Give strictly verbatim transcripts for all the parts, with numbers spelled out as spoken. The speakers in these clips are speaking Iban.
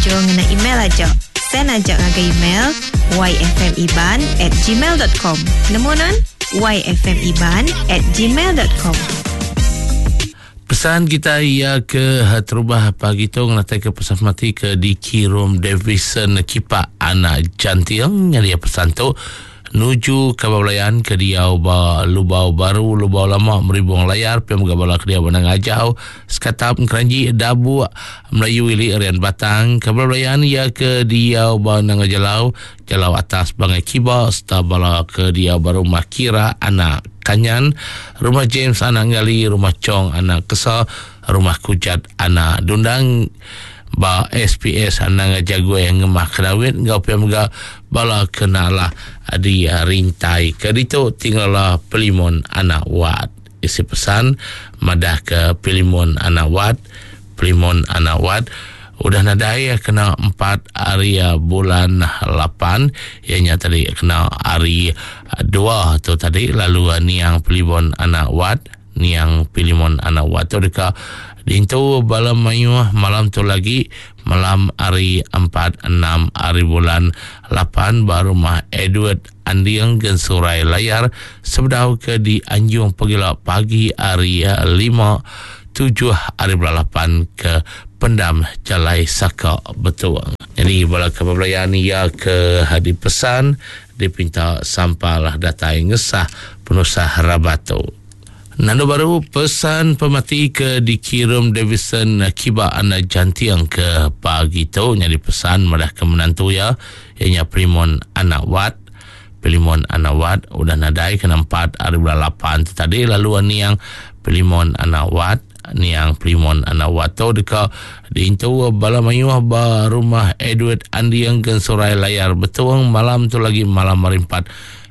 Nganjung ngena email aja. Send aja ngagai email yfmiban at gmail dot com. Nemu non? yfmiban at gmail dot com. Pesan kita ia ke terubah pagi tu ngatai ke pesan mati ke dikirum Davison Kipak anak Jantiang. Jadi pesan tu nuju ke belayan ke dia ba Lubau Baru, Lubau Lama, Meribung Layar, piam gabala ke dia benang ajau, Sekatap Keranji, Dabu, Melayu Ili, Rian Batang, ke belayan ia ke dia ba Nanga Jalau, Jalau Atas Bangai Kiba, serta bala ke dia ba Rumah Kira Anak Kanyan, Rumah James Anak Ngali, Rumah Chong Anak Kesa, Rumah Kujat Anak Dundang, ba S P S Anak Jago yang ngemah kenawit, ngau piam ga bala kenalah di rintai ke ditu tinggallah Pilimon Anak Wat. Isi pesan madah ke Pilimon Anak Wat, Pilimon Anak Wat udah nadai kena empat hari bulan lapan, ianya tadi kena hari dua tu tadi, lalu niang Pilimon Anak Wat, niang Pilimon Anak Wat tu dekat dintu bala mayuh malam tu lagi malam hari empat enam hari bulan lapan baru rumah Edward Andiang Gensurai Layar sebedau ke di Anjung Pegila pagi hari lima tujuh hari bulan lapan ke Pendam Jalai Saka Betuang. Jadi bala kebelayan ia ke hadi pesan dipinta sampalah datai ngesah penusah rabatu. Nando baru pesan pemati ke dikirim Davison Kiba Anak Jantiang ke pagi tu nyadi pesan madah ke menantu ya ianya Primon Anak Wat. Pilimon Anak Wat udah nadai kena empat hari bulan lapan tu tadi, lalu niang Pilimon Anak Wat, niang Pilimon Anak Wat tu deka diintu bala mayuh ba rumah Edward Andiang Gensurai Layar Betuang malam tu lagi malam hari empat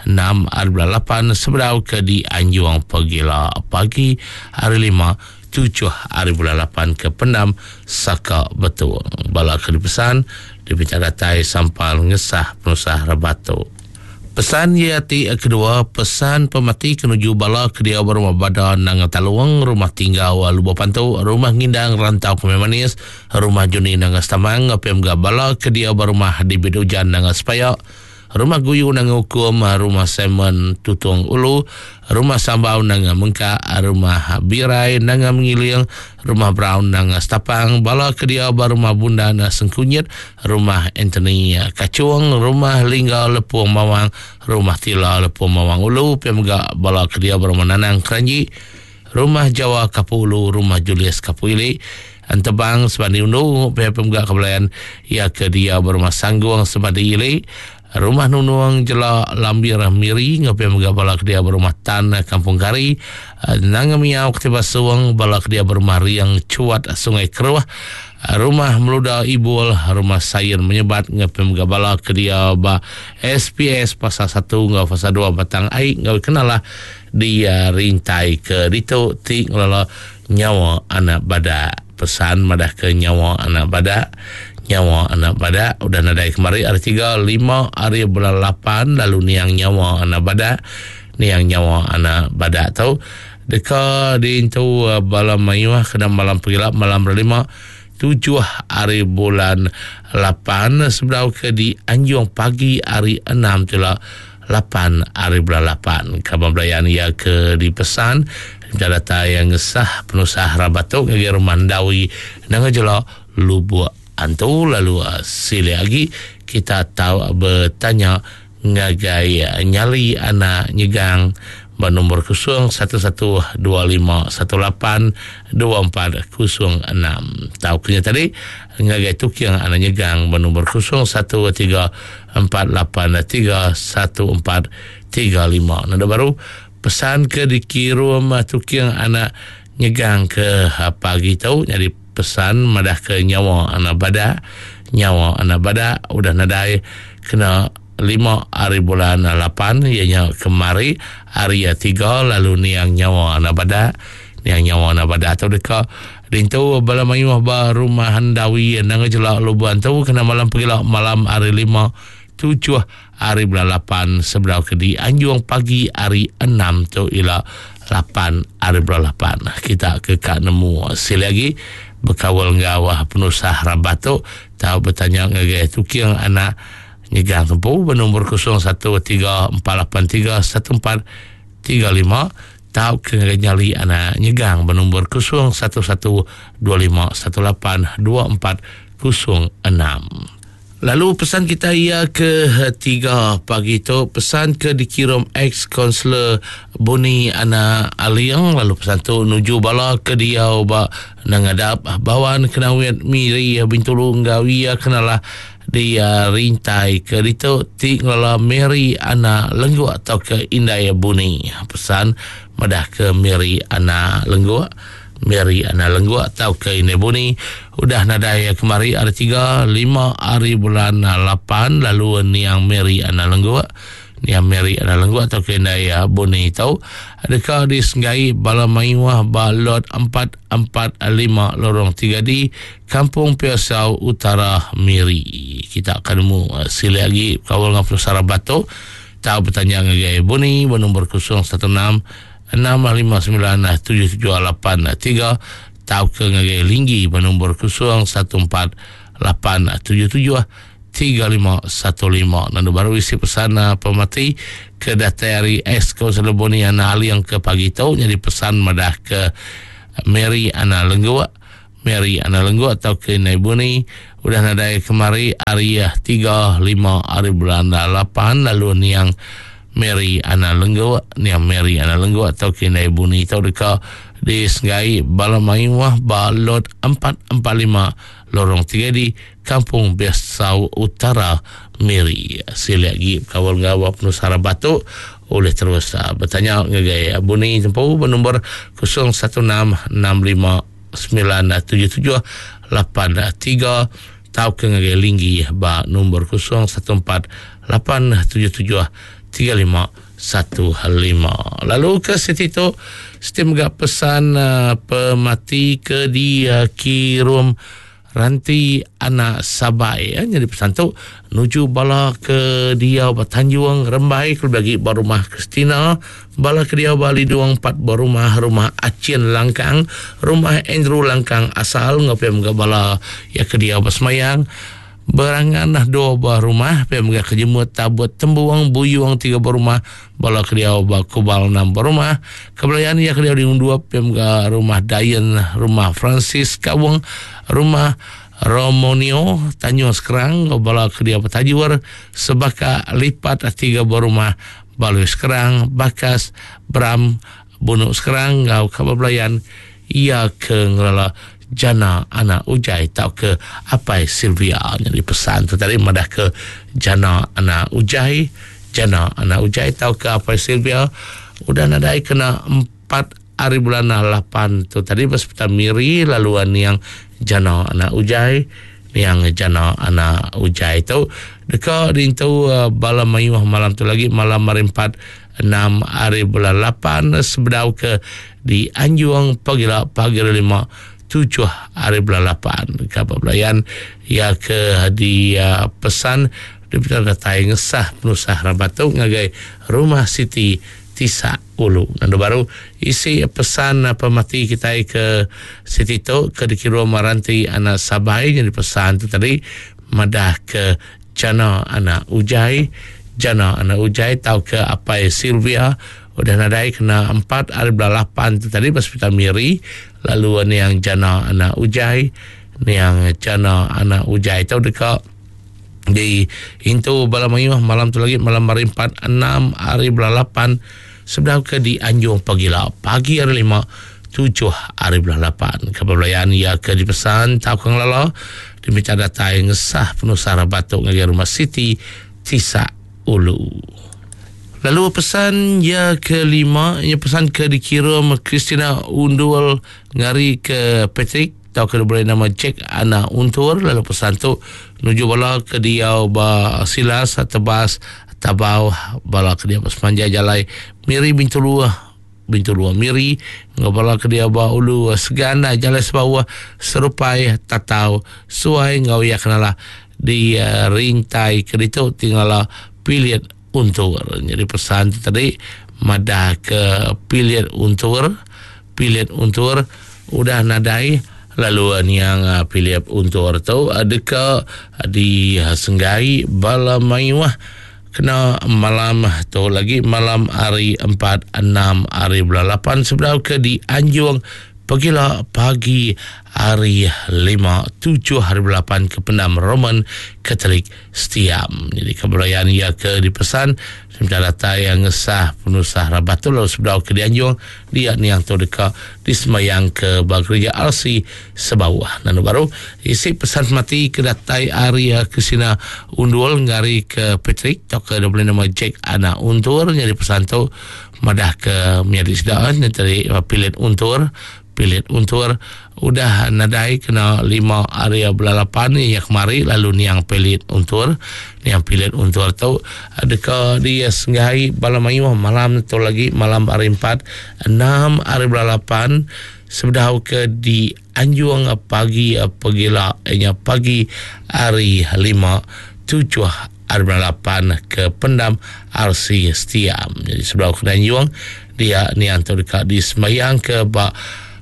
enam hari bulan lapan sebedau ke di Anjuang Pegila pagi hari lima tujuh hari bulan lapan ke Pendam Saka Betuang. Bala ke dipesan dipinta datai sampal ngesah penusah rebatu. Pesan ia ti kedua, pesan pemati kenuju bala ke dia berumah badan Nanga Taluang, rumah tinggal Lubuk Pantu, rumah Ngindang Rantau Kemai Manis, rumah Juni Nanga Stamang, P M G bala ke dia berumah di Bidujan Nanga Sepayak, rumah Guyu Nanga Hukum, rumah Simon Tutung Ulu, rumah Sambau Nanga Mengkak, rumah Birai Nanga Mengiling, rumah Brown Nanga Stapang, bala ke dia rumah Bunda Nanga Sengkunyit, rumah Anthony Kacuang, rumah Lingga Lepung Mawang, rumah Tila Lepung Mawang Ulu, P M G bala ke dia rumah Nanang Keranji, rumah Jawa Kapu Ulu, rumah Julius Kapu Ili, Antebang Sebandi Undu, P M G kebelayan ia ke dia berumah Sangguang Sebandi Ili, rumah Nunuang Jela Lambir Miri, ngapi mega bala ke dia berumah Tan Kampung Kari, Nanga Miau Ketiba Suang, bala ke dia berumah Riang Cuat Sungai Keruah, rumah Meluda Ibul, rumah Sayur Menyebat, ngapi mega bala ke dia ba S P S Pasar satu ngau Pasar dua Batang Ai, ngau kenalah dia rintai ke ditu ti ngelola nyawa anak badak. Pesan madah ke nyawa anak badak, nyawa anak badak udah nadai kemari hari tiga lima hari bulan lapan, lalu niang nyawa anak badak, niang nyawa anak badak tu deka diintu bala mayuh kena malam pegilap malam berlima tujuh hari bulan lapan sebelum ke di Anjung pagi hari enam tu lah lapan hari bulan lapan. Kabar belayan ia ke dipesan data yang ngesah penusah rabatuk ke rumah Dawi Nanga Jela Lubuk Antu. Lalu uh, sila lagi kita tahu bertanya ngagai nyali anak nyegang bernombor kosong satu satu dua lima satu lapan dua empat kosong enam. Tahu kena tadi ngagai tukiang anak nyegang bernombor kosong satu tiga empat lapan tiga satu empat tiga lima. Nada baru pesan ke dikirim tukiang anak nyegang ke pagi tu jadi pesan madah ke nyawa anak badak, nyawa anak badak udah nadai kena lima hari bulan lapan ianya kemari hari tiga, lalu niang nyawa anak badak, niang nyawa anak badak atau dekat rintu bala mayuh ba rumah Handawi nang jelak Lubuan tu kena malam pergilah malam hari lima tujuh hari bulan lapan sebelah ke di Anjung pagi hari enam tu ialah lapan hari bulan lapan. Kita ke kat nemu sekali lagi Bekawal ngau penusah rabat tu tau bertanya ngagai tuking anak nyegang tempu bernombor kosong satu tiga empat lapan tiga satu empat tiga lima tau ke ngagai nyali anak nyegang bernombor kosong satu satu dua lima satu lapan dua empat kosong enam. Lalu pesan kita ia ke tiga pagi tu, pesan ke dikirim ex-konselor Boni Anak Aliang. Lalu pesan tu nuju bala ke dia ba nangadap bawan kenawit Miri Bintulu ngau ia kenalah dia rintai ke ditu ti ngelala Mary Anak Lengguk atau ke Indai Boni. Pesan madah ke Mary Anak Lengguk, Mary Anak Lengguk atau ke Indai Boni udah nadai kemari hari tiga lima hari bulan lapan. Lalu niang Mary Anak Lengguk, niang Mary Anak Lengguk atau ke Indai Boni itu adakah disenggai bala mayuah ba lot empat empat lima lorong tiga D Kampung Piasau Utara Miri. Kita akan nemu sila lagi kawal dengan Pusara Batu. Tahu bertanya ngagai Boni bernombor kosong satu enam enam lima sembilan tujuh tujuh lapan tiga tahu ke ngagai Linggi bernombor kosong satu empat lapan tujuh tujuh tiga lima satu lima. Nanti baru isi pesan pemati ke datari S Kausel Boni Anak Ali yang ke pagi tu jadi pesan madah ke Mary Anak Lengguk, Mary Anak Lengguk atau ke Indai Boni udah nadai kemari hari tiga lima hari bulan lapan. Lalu niang Mary Anak Lengguk, niang Mary Anak Lengguk atau ke Indai Boni tau deka disenggai bala mayuah ba lot empat empat lima lorong tiga di Kampung Biasau Utara Miri. Sila lagi kawal ngawal penusara batu oleh terus uh, bertanya ngagai Boni tempu bernombor kosong satu enam enam lima sembilan tujuh tujuh lapan tiga tau ke ngagai Linggi ba nombor kosong satu empat lapan tujuh tujuh tiga lima satu lima. Lalu ke situ tu sistem gak pesan uh, pemati ke di uh, kirum Ranti Anak Sabai ya. Jadi pesan tu nuju bala ke dia Tanjung Rembai ke bagi rumah Christina, bala ke dia Bali Duang empat berumah rumah Acin Langkang, rumah Andrew Langkang asal ngapem ke bala ya ke dia Basmayang berangan dah dua buah rumah pem ke kejemut tabut tembuang buyuang tiga buah rumah bala ke dia Kubal enam buah rumah kebelayan ya ke dia di dua pem ke rumah Dayan, rumah Francis Kawung, rumah Romonio Tanjung Sekerang bala ke dia Petajur sebaka lipat tiga buah rumah Balui Sekerang Bakas Bram Bunuk Sekerang ngau kebelayan ia ke ngelala Jana Anak Ujai tau ke Apai Sylvia. Jadi pesan tu tadi madah ke Jana Anak Ujai, Jana Anak Ujai tau ke Apai Sylvia udah nadai kena empat hari bulan lapan tu tadi berseputar Miri. Laluan yang Jana Anak Ujai, yang Jana Anak Ujai tu dekat dintu uh, bala mayuh malam tu lagi malam hari empat enam hari bulan lapan sebedau ke di Anjuang pagi la pagi lima tujuh hari bulan lapan. Kabar belayan ya ke di uh, pesan di datai ngesah penusah rabatu ngagai rumah Siti Tisa Ulu. Nanti baru isi pesan pemati kita ke Siti tu ke dikiru Maranti Anak Sabai. Jadi pesan tu tadi madah ke Jana Anak Ujai, Jana Anak Ujai tau ke Apai Sylvia udah nadai kena empat hari bulan lapan tu tadi hospital Miri. Lalu ni yang Jana Anak Ujai, ni yang Jana Anak Ujai tau dekat di intu bala mayuh malam tu lagi malam hari empat enam hari bulan lapan sebelum ke di Anjung pagi lah pagi hari lima tujuh hari bulan lapan. Kebelayan ia ke dipesan tau ke ngelala diminta datai ngesah penusah batuk ngagai rumah Siti Tisa Ulu. Lalu pesan ya kelima, ya pesan ke dikirim Christina Undul ngari ke Patrick atau ke boleh nama Jack Anak Untur. Lalu pesan tu nuju bala ke dia ba Silas Tebas Tabau bala ke dia sepanjang jalai Miri Bintulu Bintulu Miri ngabala ke dia ba Ulu Segana jalai sebawah Serupai Tatau Suai ngau ya kenala di uh, rintai ke ditu tinggal pilihan Untur. Jadi pesan tu tadi madah ke pilihan Untur, pilihan Untur udah nadai Lalu niang Philip Untur tu deka di senggai bala mayuh kena malam tu lagi malam hari empat enam hari bulan lapan sebelum ke di Anjung pegila pagi hari lima tujuh hari bulan lapan ke pendam Roman Katolik Setiam. Jadi kebelayaan ia ke dipesan sementara datai yang ngesah penusah rabat tu lalu sebelum ke dianjung dia niang tu deka disemayang ke gereja R C Sebawah. Nanu baru isi pesan mati ke datai hari ke sina undul ngari ke Patrick atau ke boleh nama Jack anak untur. Jadi pesan tu madah ke menjadi sedaan dari pilit untur pilit untur udah nadai kena lima hari bulan lapan ni yang kemari lalu niang pilit untur niang pilit untur tu deka dia senggai bala mayuh malam tu lagi malam hari empat enam hari bulan lapan sebedau ke di Anjung pagi pegila nya pagi hari lima tujuh hari bulan lapan ke pendam R C Setiam. Jadi sebelum ke Anjung dia niang tu dekat di semayang ke bak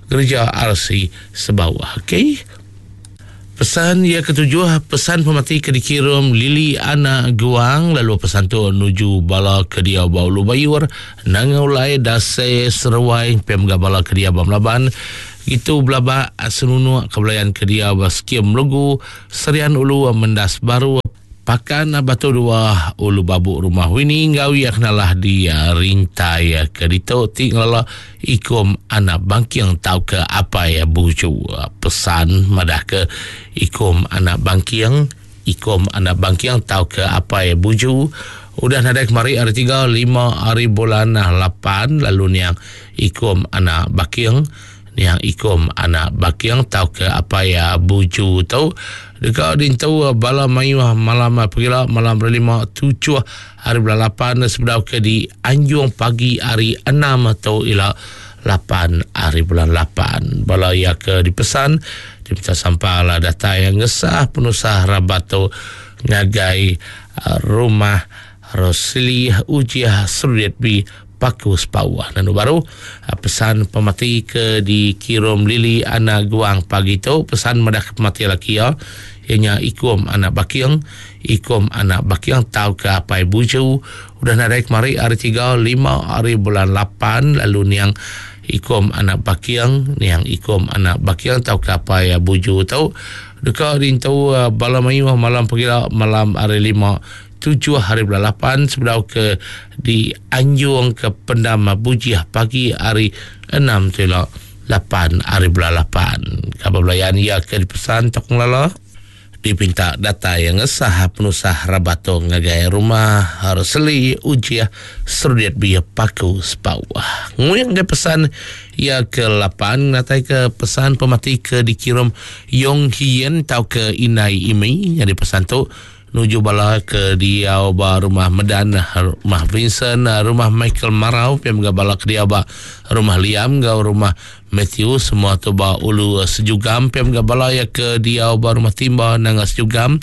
gereja R C Sebawah. Okey. Pesan yang ketujuh, pesan pemati ke dikirim Lili Anak Guang lalu pesan tu nuju bala ke dia bau lubayur nangaulai dase seruai pem bala ke dia bau melaban itu belaba senunu kebelayan ke dia baskim lugu serian ulu mendas baru pakan batu dua ulu babuk rumah wini ngau ya kenalah di rintai ke dito ti ngelala ikum anak bangking tau ke apa ya buju. Pesan madah ke ikum anak bangking ikum anak bangking tau ke apa ya buju udah nadai kemari hari tiga lima hari bulan lapan lalu niang ikum anak bangking niang ikum anak bangking tau ke apa ya buju tau dekat dintu bala mayuh malam pergila malam lima tujuh hari bulan lapan sebelum ke di Anjung pagi hari enam atau ila lapan hari bulan lapan. Bala ia ke dipesan diminta sampah data yang ngesah penusah rabat tu ngagai rumah Rosli Ujiah Surit B Paku Sepawah. Dan baru pesan pemati ke dikirim Lili Anak Guang pagi tu pesan madah pemati laki ya ianya ikum anak bakiang ikum anak bakiang tau ke apai buju udah nadai kemari hari tiga lima hari bulan lapan lalu niang ikum anak bakiang niang ikum anak bakiang tau ke apai buju tau dekat rintu bala mayuh malam pegila malam hari lima tujuh hari bulan lapan sebelum ke di Anjung ke Pendam Bujiah pagi hari enam tila lapan hari bulan lapan. Khabar belayan ia ke dipesan tokong lala dipinta data yang ngesah penusah rabato ngagai rumah Rosli Ujiah Surit Bia Paku Sepawah. Nguyang ke pesan ia ke lapan natai ke pesan pemati ke dikirim Yong Hien tau ke Inai Imi yang dipesan tu nuju bala ke dia ba rumah Medan, rumah Vincent, rumah Michael Marau, piam ga bala ke dia ba rumah Liam ga rumah Matthew, semua tu ba ulu Sejugam, piam ga bala ya ke dia ba rumah Timba nanga Sejugam,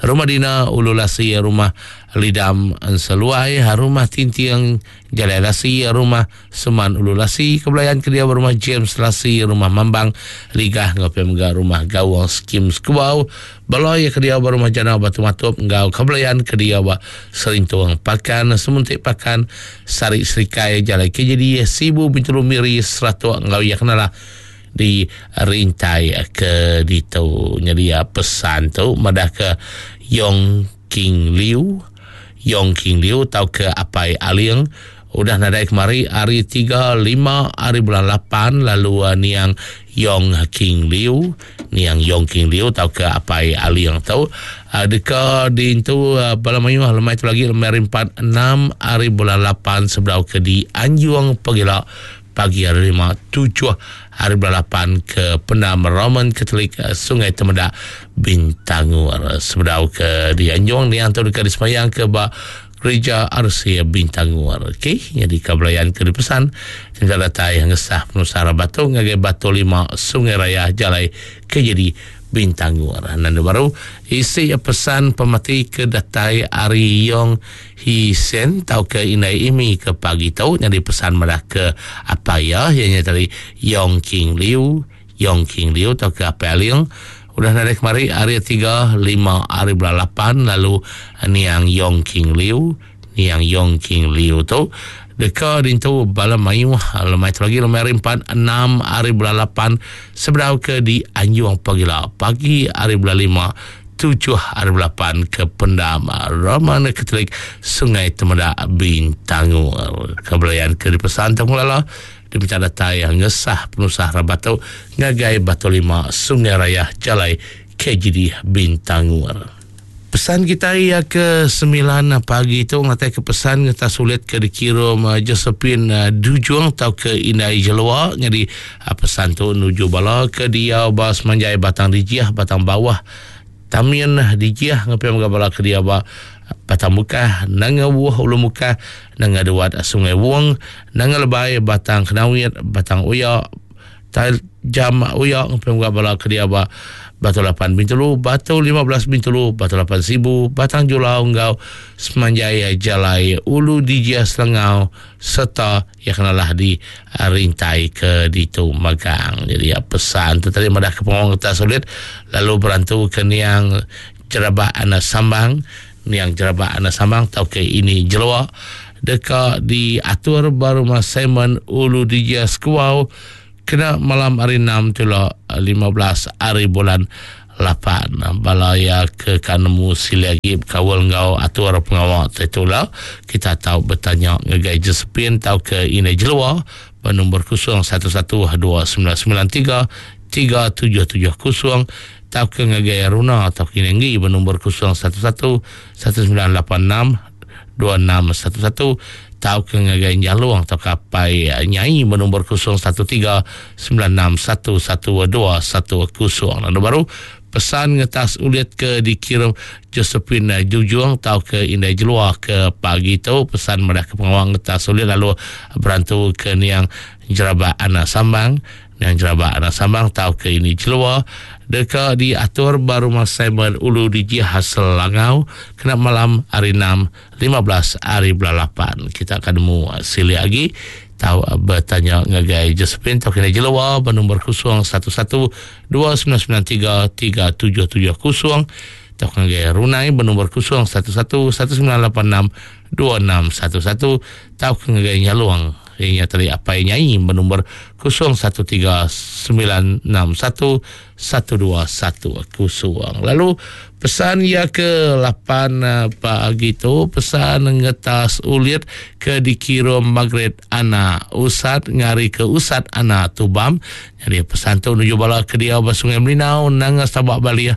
rumah Dina ulu Lasi, rumah Lidam Seluai, rumah Tintiang Jalai Lasi, rumah Seman Ulu Lasi, kebelayan ke dia rumah James Lasi, rumah Mambang Ligah ngau piam ga rumah Gawang Skim Skubau, balai ke dia rumah Jana Batu Matup ngau kebelayan ke dia ba Serintuang Pakan, Semuntik Pakan, Sari Serikai Jalai K J D Sibu Bintulu Miri Seratuk ngau ya kenalah di rintai ke ditu. Jadi pesan tu madah ke Yong King Liu Yong King Liu tau ke Apai Aliang udah nadai kemari hari tiga lima hari bulan lapan lalu uh, niang Yong King Liu niang Yong King Liu tau ke Apai Aliang tau uh, deka dintu uh, bala mayuh lemai tu lagi lemai hari empat enam hari bulan lapan sebelum ke di Anjung pegila pagi hari lima tujuh hari bulan lapan ke Pendam Roman Katolik Sungai Temedak Bintangur sebelum ke di Anjung niang tu dekat disemayang ke ba Gereja R C Bintangur. Okey, jadi kebelayan ke dipesan tinggal datai yang ngesah penusara batu ngagai Batu Lima Sungai Raya Jalai ke jadi Bintangur. Nan baru isi pesan pemati ke datai Ari Yong Hi Sen tau ke Inai Imi ke pagi tau jadi pesan malah ke apa ya ianya tadi Yong King Liu Yong King Liu atau ke Apai Aling udah nadai kemari hari tiga lima hari bulan lapan lalu niang Yong King Liu niang Yong King Liu tu deka dintu bala mayuh lemai tu lagi lemai hari empat enam hari bulan lapan sebedau ke di Anjung Pagila pagi hari bulan lima tujuh hari bulan lapan ke Pendam Roman Katolik Sungai Temedak Bintangu. Kebelayan ke dipesan Tengulala diminta datai yang ngesah penusah rabat tu ngagai Batu Lima Sungai Raya Jalai K G D Bintangur. Pesan kita ia ke sembilan pagi tu ngatai ke pesan ngeta sulit ke dikirim Josephine Dujung atau ke Indai Jelua. Jadi pesan tu nuju bala ke dia ba semanjai Batang Dijiah Batang Bawah Tamian Dijiah ngapai mga bala ke dia ba Batang Mukah Nanga Wuh Ulu Mukah Nanga Duat Sungai Wong Nanga Lebai Batang Kenawit Batang Uya Tal Jam Uya ngapai mga bala ke dia ba Batu lapan Bintulu, Batu lima belas Bintulu, Batu lapan Sibu, Batang Julau Enggau, Semanjai Jalai Ulu Dijia Selangau serta yang kenalah di rintai ke Ditu Magang. Jadi ya, pesan tu tadi madah ke pengawang kertas sulit lalu berantu ke niang Jerabak Anak Sambang, niang Jerabak Anak Sambang tau ke ini Jelua deka diatur baru Mas Simon Ulu Dijia Sekuau kena malam hari enam tula lima belas hari bulan lapan. Balaya ke kanemu silagi kawal ngau atur pengawal itulah kita tahu bertanya ngagai Josephine tau ke Ina Jelua bernombor kosong satu satu dua sembilan sembilan tiga tiga tujuh tujuh kosong tau ke ngagai Runa tau ke Nenggi bernombor kosong satu satu satu sembilan lapan enam dua enam satu satu tau ke ngagai Nyaluang atau kapai Nyai bernombor kosong satu tiga sembilan enam satu satu dua satu kosong. Lalu baru pesan ngetas ulit ke dikirim Josephine Jujung tau ke Indai Jelua ke pagi tu pesan madah ke pengawang ngetas ulit lalu berantu ke niang Jerabak Anak Sambang niang Jerabak Anak Sambang tau ke ini Jelua deka diatur baru Mas Simon Ulu di Jihah Selangau kena malam hari enam lima belas hari bulan lapan. Kita akan nemu sili lagi tahu bertanya ngagai Josephine tau kena Jelua bernombor kosong satu satu dua sembilan sembilan tiga tiga tujuh tujuh kosong tau ngagai Runai bernombor kosong satu satu satu sembilan lapan enam dua enam satu satu tau ngagai Nyaluang ianya tadi apa nyai bernombor kosong satu tiga sembilan enam satu satu dua satu kosong. Lalu pesan ya ke lapan pagi tu pesan ngetas ulit ke dikirim Margaret Ana Usat ngari ke Usat Ana Tubam. Jadi pesan tu menuju bala ke dia ba Sungai Melinau nanga Sabak Baliah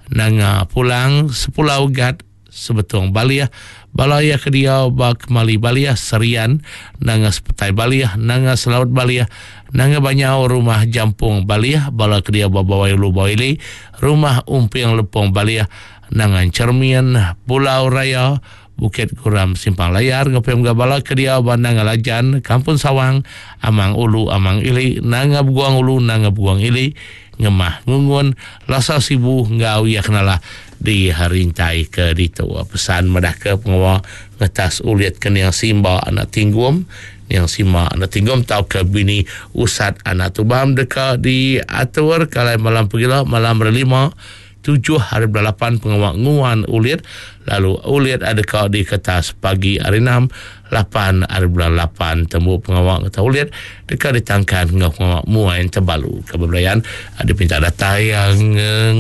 nanga pulang sepulau Gat Sebetung Baliah balaya ke dia ba Kemali Baliah Serian nanga Sepetai Baliah nanga Selaut Baliah nanga Banyau rumah Jampung Baliah bala ke dia ba Bawai Ulu Bawili rumah Umping Lepong Baliah nanga Cermian Pulau Raya Bukit Guram Simpang Layar ngepem bala ke dia ba nanga Lajan Kampung Sawang Amang Ulu Amang Ili nanga Buang Ulu nanga Buang Ili Ngemah Ngungun Lasa Sibu ngau ya kenalah di harintai ke ditu. Pesan madah ke pengawal ngetas ulit ke niang Simba anak Tinggum niang Sima anak Tinggum tau ke bini Usat anak Tubam deka diatur kalai malam pegila malam berlima tujuh hari bulan lapan pengawal nguan ulit lalu ulit ada kau di kertas pagi hari enam lapan hari bulan lapan temu pengawal kata ulit dekat ditangkan ngau pengawal muain terbalu keberadaan ada pinta data yang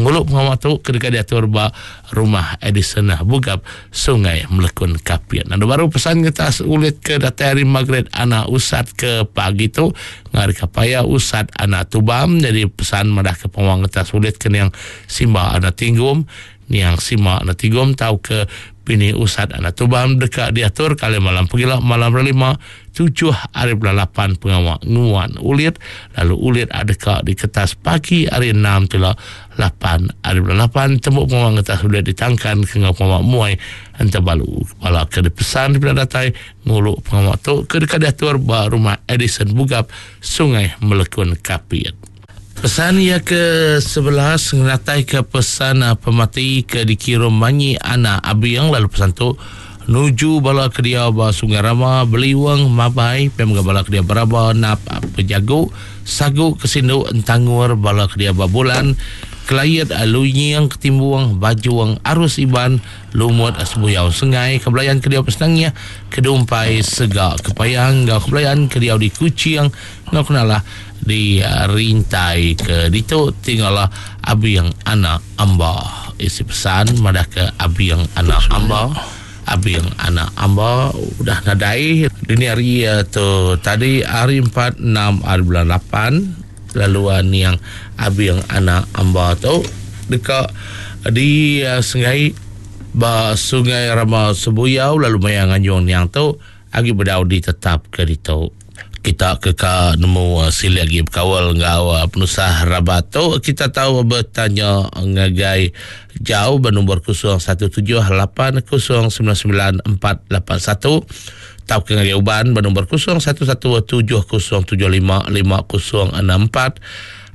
nguluk pengawal tu ketika diatur ba rumah Edison Bugap Sungai Melekun Kapian. Lalu baru pesan kertas ulit ke data hari Margaret anak Usat ke pagi tu ngari kapaya Usat anak Tubam. Jadi pesan madah ke pengawal kertas ulit ke yang Simba anak Tinggum niang Sima anak Tinggum tau ke bini Usat anak Tubam dekat diatur kali malam pegila malam lima tujuh hari bulan lapan pengawal nguan ulit lalu ulit ada kak di kertas pagi hari enam tila lapan hari bulan lapan tembuk pengawal kertas ulit ditangkan ke ngau pengawal muai antabalu kepala ke dipesan di datai nguluk pengawal tu ke dekat diatur ba rumah Edison Bugap Sungai Melekun Kapit. Pesan ia ke sebelas ngatai ke pesan pemati ke dikirim Manyi anak Abiang lalu pesan tu Nuju bala kedia ba Sungai Rama, Beliwang, Mabai, pem bala kedia Beraba, Nap, Pejagu, Sagu, Kesindu, Entangur, bala kedia ba Bulan, Kelayat, Lunying, Ketimbuang, Bajuang, Arus Iban, Lumut, Sebuyau, Sengai, Kebelayan kedia Pesenangia, Kedumpai, Segak, Kepayang, ngau Kebelayan kedia di Kuching, ngau kenalah di rintai ke ditu tinggallah Abiang Anak Amba. Isi pesan madah ke Abiang Anak Amba. Abiang Anak Amba udah nadai dini hari tu tadi hari empat enam hari bulan lapan lalu niang Abiang Anak Amba tu dekat di uh, sungai ba Sungai Rama Sebuyau lalu maya nganjung niang tu agi bedau ditetap ke ditu. Kita ke ka nemu uh, sili lagi berkawal ngau uh, penusah rabat tu kita tahu bertanya ngagai jauh bernombor kosong satu tujuh lapan kosong sembilan sembilan empat lapan satu tau ke ngagai uban bernombor kosong satu satu tujuh kosong tujuh lima lima kosong enam empat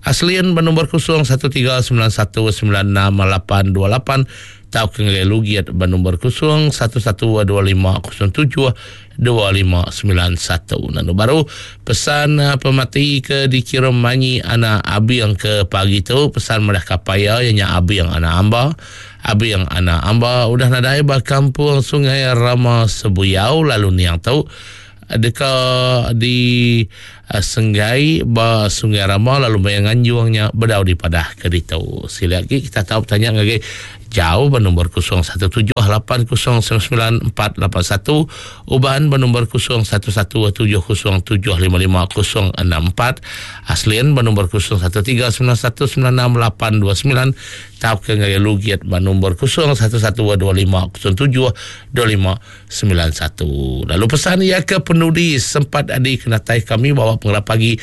Aslian bernombor kosong satu tiga sembilan satu sembilan enam lapan dua lapan tau ke ngagai Lugiat bernombor kosong satu satu dua lima kosong tujuh dua lima sembilan satu. Lalu baru pesan pemati ke dikirim manyi anak Abiang ke pagi tu pesan madah kapaya ianya Abiang anak Amba. Abiang anak Amba udah nadai ba kampung Sungai Rama Sebuyau lalu niang tu deka di uh, Senggai ba Sungai Rama lalu bayang nganjungnya bedau di padah ke ditu. Sila lagi kita tahu bertanya ngagai jauh bernombor kosong satu tujuh lapan kosong sembilan sembilan empat lapan satu, Uban bernombor kosong satu satu tujuh kosong tujuh lima lima kosong enam empat, Aslian bernombor kosong satu tiga sembilan satu sembilan enam lapan dua sembilan, tau ke ngagai Lugiat bernombor kosong satu satu dua lima kosong tujuh dua lima sembilan satu. Lalu pesan ia ke penudi sempat adi kenatai kami bawa pengelap pagi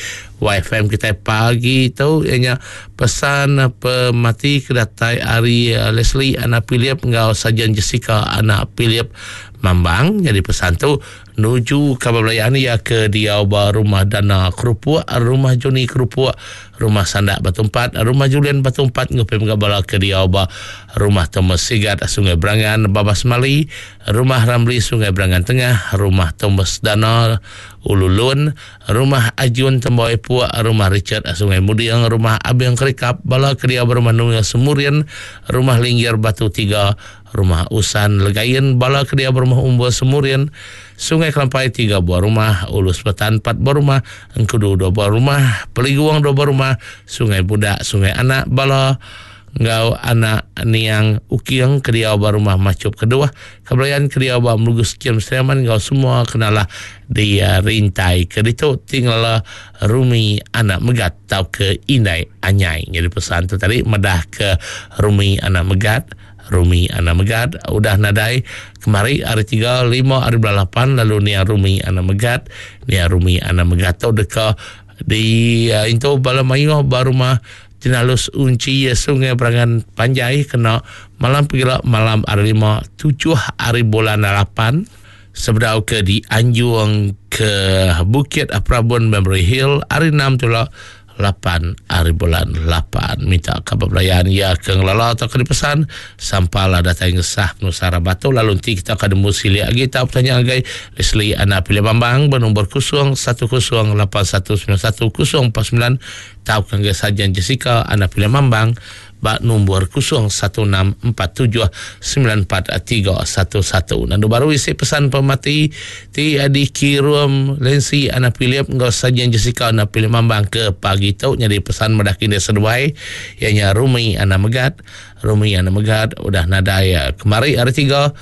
Y F M kita pagi tu ianya pesan pemati kedatai hari Leslie anak Philip ngau Sajan Jessica anak Philip Mambang. Jadi pesan tu nuju kabar belayaan ia ke diau ba rumah Dana Kerupuk, rumah Joni Kerupuk, rumah Sandak Batu Empat, rumah Julian Batu Empat, ngupim gabala ke diau ba rumah Thomas Sigat Sungai Berangan Babas Mali, rumah Ramli Sungai Berangan Tengah, rumah Thomas Dana Ululun, rumah Ajun Temboi Puak, rumah Richard Sungai Mudiang, rumah Abang Kerikap, bala ke diau ba rumah Nunga Semurian, rumah Linggir Batu Tiga, rumah Usan Legayen, bala ke diau ba rumah Umbu Semurian, Sungai Kelampai tiga buah rumah, Ulus Betan empat buah rumah, Engkudu dua buah rumah, Peliguang dua buah rumah, Sungai Budak, Sungai Anak, bala ngau anak niang Ukiang ke diau ba rumah Macup kedua, kebelayan ke diau ba Melugus Kiam Seriaman ngau semua kenalah di uh, rintai ke ditu tinggal Rumi anak Megat tau ke Indai Anyai. Jadi pesan tu tadi madah ke Rumi anak Megat. Rumi anak Megat udah nadai kemari hari tiga lima hari bulan lapan lalu nia Rumi anak Megat nia Rumi anak Megat tu deka di uh, into bala mayu ba rumah Jenalus Unci Sungai Berangan Panjai kena malam pegila malam hari lima tujuh hari bulan lapan sebedau ke di Anjung ke Bukit Prabun Memory Hill hari enam tu lah lapan hari bulan lapan. Minta kabar belayan ya ke ngelala atau ke dipesan sampailah datang ngesah Nusara Batu lalu nanti kita akan demu silik lagi tak bertanya lagi Leslie anak Pilih Bambang bernombor kosong satu kosong lapan satu sembilan satu kosong empat sembilan tau ke Sajan Jessica anak Pilih Bambang bak nombor kosong satu enam empat tujuh sembilan empat tiga satu satu. Nandu baru isi pesan pemati ti adi kirum Lensi anak Philip ngau Sajan Jessica anak Philip Mambang ke pagi tu nyadi pesan madah kini seduai ianya Rumi anak Megat. Rumi anak Megat udah nadai kemari hari tiga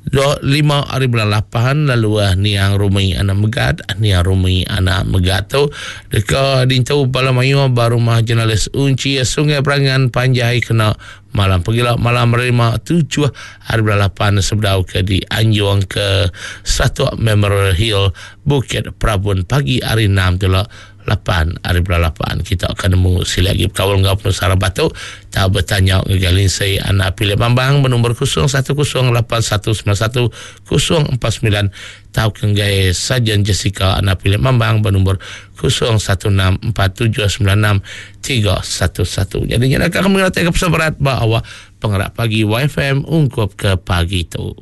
dua lima hari bulan lapan lalu uh, niang Rumi anak Megat niang Rumi anak Megat tu deka dintu bala mayu ba rumah jurnalis Unci Sungai Berangan Panjai kena malam pegila malam lima tujuh hari bulan lapan sebedau ke di Anjung ke Satu Memorial Hill Bukit Prabun pagi hari enam tu lah lapan hari bulan lapan. Kita akan nemu sila lagi berkawal dengan Penusara Batu tak bertanya dengan Lindsay anak Pilih Bambang bernombor kosong satu kosong lapan satu sembilan satu kosong empat sembilan tau kenggai Sajan Jessica anak Pilih Bambang bernombor kosong satu enam empat tujuh sembilan enam tiga satu satu. Jadi nak akan mengerti ke pesan berat bahawa pengerak pagi Y F M ungkup ke pagi tu.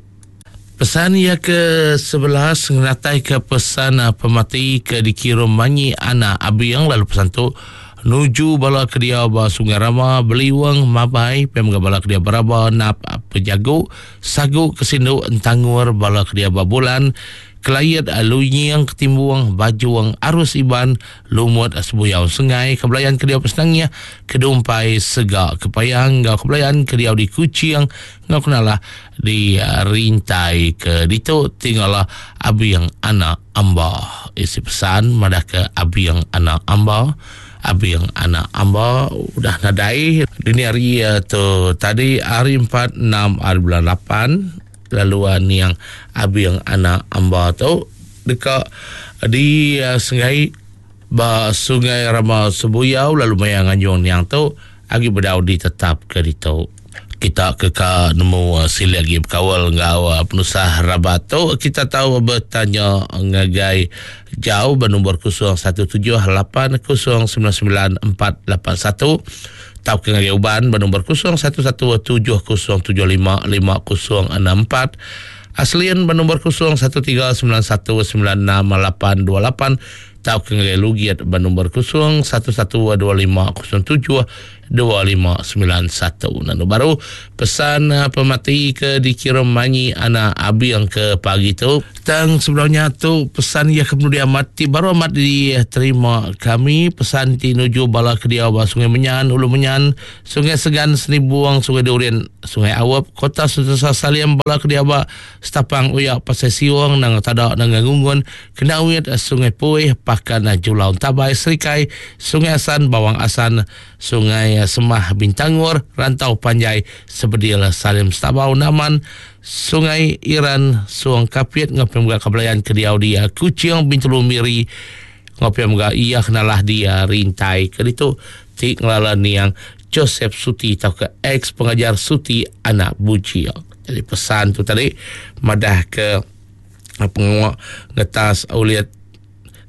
Pesan ia ke sebelas ngenatai ke pesan pemati ke dikirim Manyi Anak Abiang lalu pesan tu nuju bala ke dia ba Sungai Rama Beliwang Mabai pem bala ke dia beraba nap pejagu sagu kesindu entangur bala ke dia ba bulan Kelayat Lunying Ketimbuang Bajuang Arus Iban Lumut Sebuyau Sengai Kebelayan ke dia pesenangnya Kedumpai Segak Kepayang ngau kebelayan ke dia di Kuching ngau kenalah di Rintai ke ditu tinggallah Abiang Anak Amba. Isi pesan madah ke Abiang Anak Amba. Abiang Anak Amba udah nadai dini hari tu tadi hari empat enam hari bulan lapan lalu niang Abiang Anak Amba tu dekat di uh, sungai ba Sungai Rama Sebuyau lalu maya nganjung niang tu agi bedau ditetap ke ditu. Kita ke ka nemu uh, sili lagi berkawal ngau uh, penusah rabat tu kita tahu bertanya ngagai jauh bernombor kosong satu tujuh lapan kosong sembilan sembilan empat lapan satu tau ke ngagai uban bernombor kosong satu satu tujuh kosong tujuh lima lima kosong enam empat Aslian bernombor kosong satu tiga sembilan satu sembilan enam lapan dua lapan tau ke ngagai Lugiat bernombor kosong satu satu dua lima kosong tujuh dua lima sembilan satu. Nanu baru pesan pemati ke dikirim Manyi Anak Abiang ke pagi tu. Tang sebelumnya tu pesan ia kemudian mati baru amat diterima kami pesan ti nuju bala ke dia ba Sungai Menyan, Ulu Menyan, Sungai Segan, Senibuang, Sungai Durian, Sungai Awap, Kota Sentosa Salim bala ke dia ba Setapang Uyak Pasai Siwang nang Tadak nang Ngungun, Kenawit, Sungai Puih, Pakan Julau Tabai, Serikai, Sungai Asan, Bawang Asan, Sungai Semah Bintangor, Rantau Panjai, Sebedil Salim Stabau Naman, Sungai Iran, Suang Kapit, ngopi mga kabelayan ke diau dia Kuching Bintulu Miri, ngopi mga iya kenalah dia Rintai ke ditu ti ngelala niang Joseph Suti atau ke ex pengajar Suti Anak Bujil. Jadi pesan tu tadi madah ke penguak ngetas uliat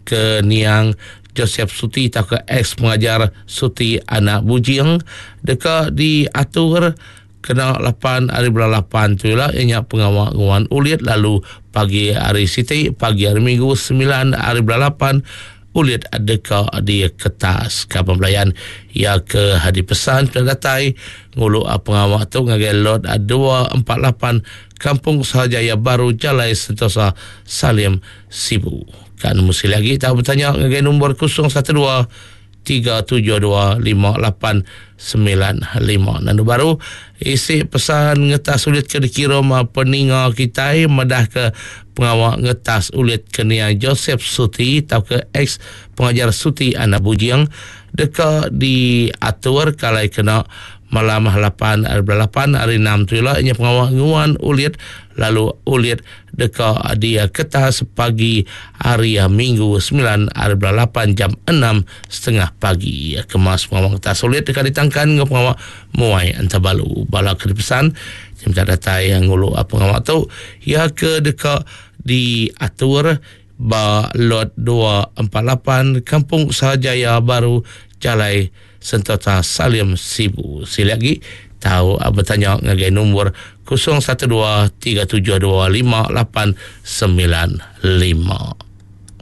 ke niang Joseph Suti atau ke ex pengajar Suti Anak Bujing dekat diatur kena lapan hari bulan lapan tu lah ianya pengawal nguan ulit lalu pagi hari Siti pagi hari Minggu sembilan hari bulan lapan ulit dekat di kertas kapal pelayan ya ke hadi pesan sudah datai ngulu pengawal tu ngagai lot dua empat lapan Kampung Sahajaya Baru Jalai Sentosa Salim Sibu. Kan mesti lagi tak bertanya ngagai nombor kosong satu dua tiga tujuh dua lima lapan sembilan lima. Nanu baru isi pesan ngetas ulit ke dikirim peninga kita madah ke pengawal ngetas ulit ke nia Joseph Suti atau ke ex pengajar Suti Anak Bujing dekat diatur kalai kena malam lapan hari lapan hari enam tu lah inya pengawal nguan ulit lalu ulit dekat dia kertas pagi hari Minggu sembilan hari lapan jam enam setengah pagi kemas pengawal kertas ulit dekat ditangkan dengan pengawal muai antabalu bala ke pesan jam datai yang ngulu pengawal tu ya ke dekat diatur ba lot dua empat lapan Kampung Sahajaya Baru Jalai Sentosa Salim Sibu. Sila lagi tahu bertanya ngagai nombor kosong satu dua tiga tujuh dua lima lapan sembilan lima.